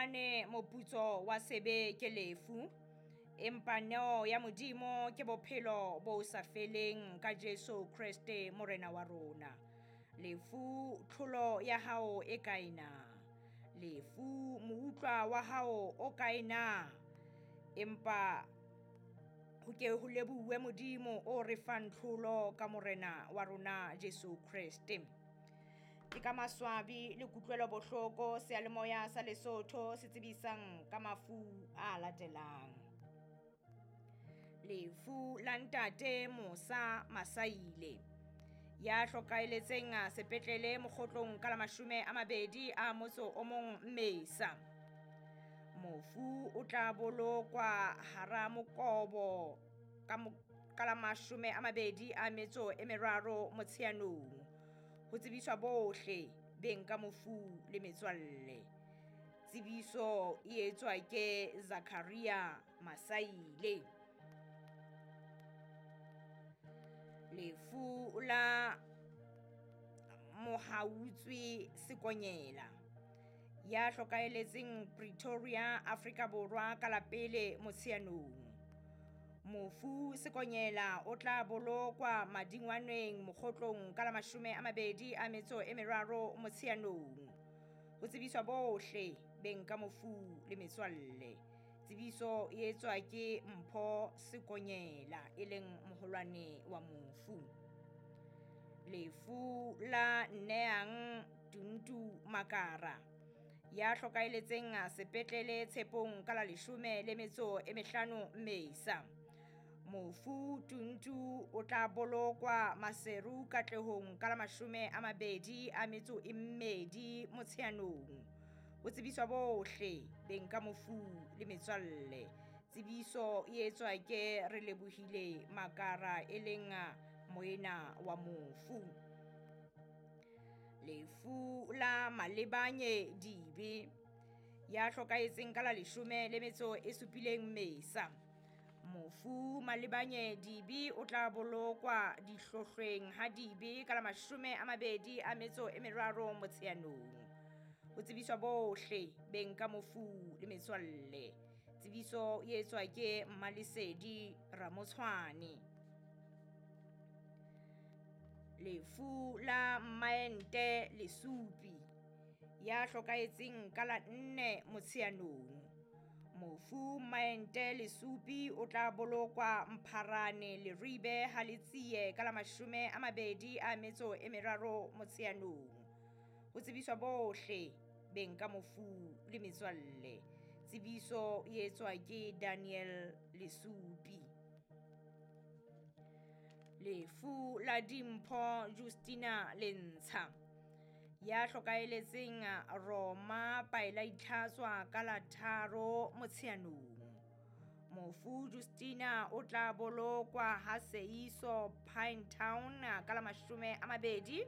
Hobane moputso wa sebe ke lefu, empa neo ya Modimo ke bophelo bo sa feleng ka Jesu Kreste Morena wa rona. Lefu, tlholo ya hao e kae na? Lefu, moutlwa wa hao o kae na? Empa ho ke ho lebohuwe Modimo o re fang tlholo ka Morena wa rona Jesu Kreste. Ke ka maswabi le kutlwelo bohloko seyalemoya sa Lesotho se tsebisang ka mafu a latelang. Lefu la ntate Mosa Masaile ya hlokaeletseng sepetlele Mokgotlong ka la 21 Mmesa. Mofu o tla bolokwa hara Mokobo ka la 23 Motsheanong. Ho tsebiswa bohle beng ka mofu le metswalle. Tsebiso e etswa ke Zakaria Masaile. Lefu la Mohautswi Sekonyela ya hlokaeletseng Pretoria, Afrika Borwa ka la 1 Motsheanong. Mofu Sekonyela o tla bolokwa Madingwaneng Mokgotlong ka la 23 Motsheanong. Ho tsebiswa bohle beng ka mofu le metswalle. Tsebiso e etswa ke Mpho Sekonyela e leng moholwane wa mofu. Lefu la Nneang Tuntu Makara ya hlokaeletseng sepetlele Tshepong ka la 15 Mmesa. Mofu Tuntu o tla bolokwa Maseru Katlehong ka la 22 Motsheanong. Ho tsebiswa bohle beng ka mofu le metswalle. Tsebiso e etswa ke Re Lebohile Makara e leng moena wa mofu. Lefu la Malebanye Dibe ya hlokahetseng ka la 17 Mmesa. Mofu Malebanye Dibe o tla bolokwa Dihlohlweng ha Dibe ka la 23 Motsheanong. Ho tsebiswa bohle beng ka mofu le metswalle. Tsebiso e etswa ke Mmalesedi Ramotshwane. Lefu la Mmaente Lesupi ya hlokahetseng ka la 4 Motsheanong. Mofu Mmaente Lesupi o tla bolokwa Mpharane Leribe ha Letsie ka la 23 Motsheanong. Ho tsebiswa bohle beng ka mofu le metswalle. Tsebiso e etswa ke Daniel Lesupi. Lefu la Dimpho Justina Lentsha ya hlokaeletseng Roma Paela Itlhatswa ka la 3 Motsheanong. Mofu Justina o tla bolokwa ha Seiso Pinetown ka la 23